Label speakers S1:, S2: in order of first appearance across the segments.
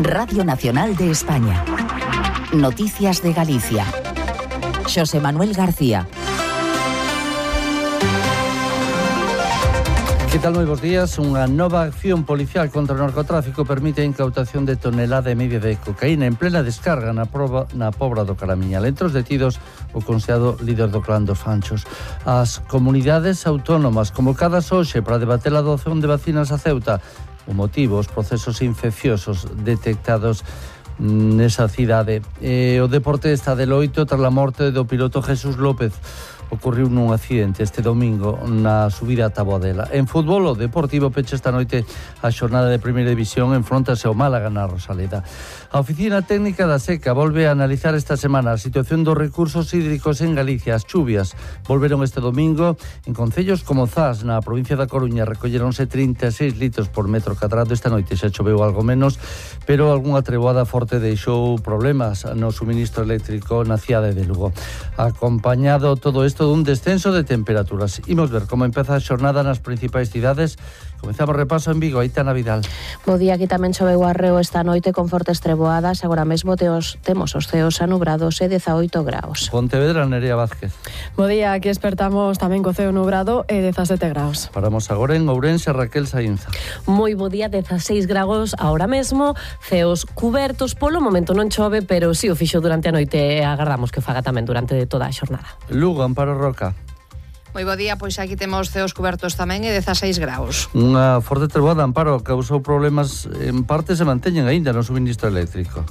S1: Radio Nacional de España. Noticias de Galicia. Xosé Manuel García.
S2: Que tal, moi bons días? Unha nova acción policial contra o narcotráfico permite a incautación de tonelada e media de cocaína en plena descarga na Pobra do Caramiñal. Entre os detidos, o considerado líder do clan dos Fanchos. As comunidades autónomas convocadas hoxe para debater a adopción de vacinas a Ceuta. O motivo, os procesos infecciosos detectados nesa cidade. O deporte está de loito tras a morte do piloto Jesús López. Ocorriu nun accidente este domingo na subida a Taboadela. En fútbol, o Deportivo pecha esta noite a xornada de Primeira División, enfróntase ao Málaga na Rosaleda. A Oficina Técnica da Seca volve a analizar esta semana a situación dos recursos hídricos en Galicia. As chuvias volveron este domingo en concellos como Zas, na provincia da Coruña, recolleronse 36 litros por metro cadrado. Esta noite xa choveu algo menos, pero algunha treboada forte deixou problemas no suministro eléctrico na cidade de Lugo. Acompañado todo isto dun descenso de temperaturas. Imos ver como empeza a xornada nas principais cidades. Comezamos repaso en Vigo, Aitana Vidal.
S3: Bo día, aquí tamén choveu arreo esta noite con fortes treboadas. Agora mesmo temos os ceos anubrados e 18 graus.
S2: Pontevedra, Nerea Vázquez.
S4: Bo día, aquí despertamos tamén co ceo nubrado e 17 graus.
S2: Paramos agora en Ourense, Raquel Saínza.
S5: Moi bo día, 16 graus agora mesmo, ceos cubertos, polo momento non chove, pero si o fixo durante a noite e agardamos que o faga tamén durante toda a xornada.
S2: Lugo, Amparo Roca.
S6: Moi bo día, pois aquí temos ceos cubertos tamén e 16 graus.
S2: Unha forte treboada, Amparo, causou problemas, en parte se manteñen aínda no suministro eléctrico.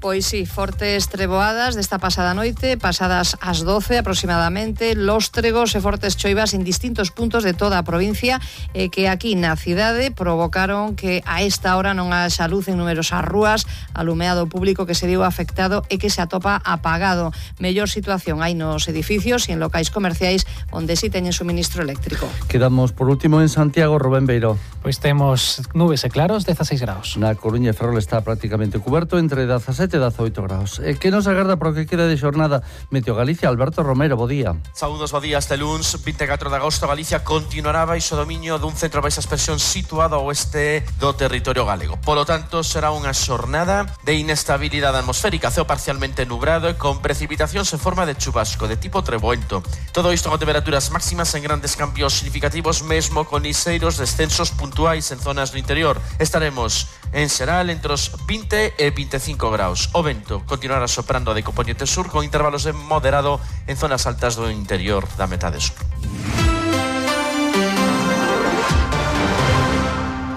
S6: Pois sí, fortes treboadas desta pasada noite, pasadas as 12 aproximadamente, lóstregos e fortes choivas en distintos puntos de toda a provincia que aquí na cidade provocaron que a esta hora non haxa luz en numerosas rúas, alumeado público que se viu afectado e que se atopa apagado. Mellor situación hai nos edificios e en locais comerciais onde si teñen suministro eléctrico.
S2: Quedamos por último en Santiago, Rubén Beiró.
S7: Pois temos nubes e claros, 16 graus.
S2: Na Coruña e Ferrol está prácticamente cuberto entre 17 e 18 graus. E que nos agarda para o que queda de xornada? Meteo Galicia, Alberto Romero, bo día.
S8: Saúdos, bo día. Este luns 24 de agosto Galicia continuará baixo dominio dun centro baixa expresión situado ao oeste do territorio galego. Polo tanto, será unha xornada de inestabilidade atmosférica, ceo parcialmente nubrado e con precipitacións en forma de chubasco de tipo treboento. Todo isto con temperaturas máximas en grandes cambios significativos, mesmo con liseiros descensos puntuais en zonas do interior. Estaremos en xeral entre os 20 e 25 graus. O vento continuará soprando de componente sur con intervalos de moderado en zonas altas do interior da metade sur.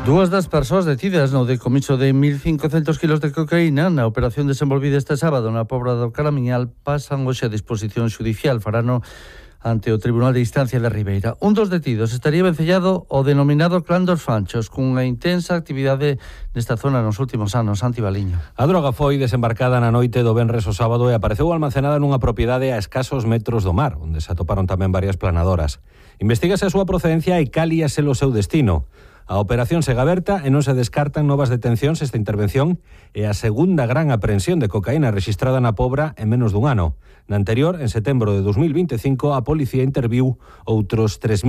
S2: Dúas das persoas detidas no decomiso de 1.500 kilos de cocaína na operación desenvolvida este sábado na Pobra do Caramiñal pasan hoxe a disposición xudicial. Farano ante o Tribunal de Instancia de Ribeira. Un dos detidos estaría vencellado ao denominado clan dos Fanchos, cunha intensa actividade nesta zona nos últimos anos. Santi Baliño.
S9: A droga foi desembarcada na noite do venres ao sábado e apareceu almacenada nunha propiedade a escasos metros do mar, onde se atoparon tamén varias planadoras. Investígase a súa procedencia e cal ia ser o seu destino. A operación segue aberta e non se descartan novas detencións. Esta intervención é a segunda gran aprehensión de cocaína rexistrada na Pobra en menos dun ano. Na anterior, en setembro de 2025, a policía interviu outros 3.000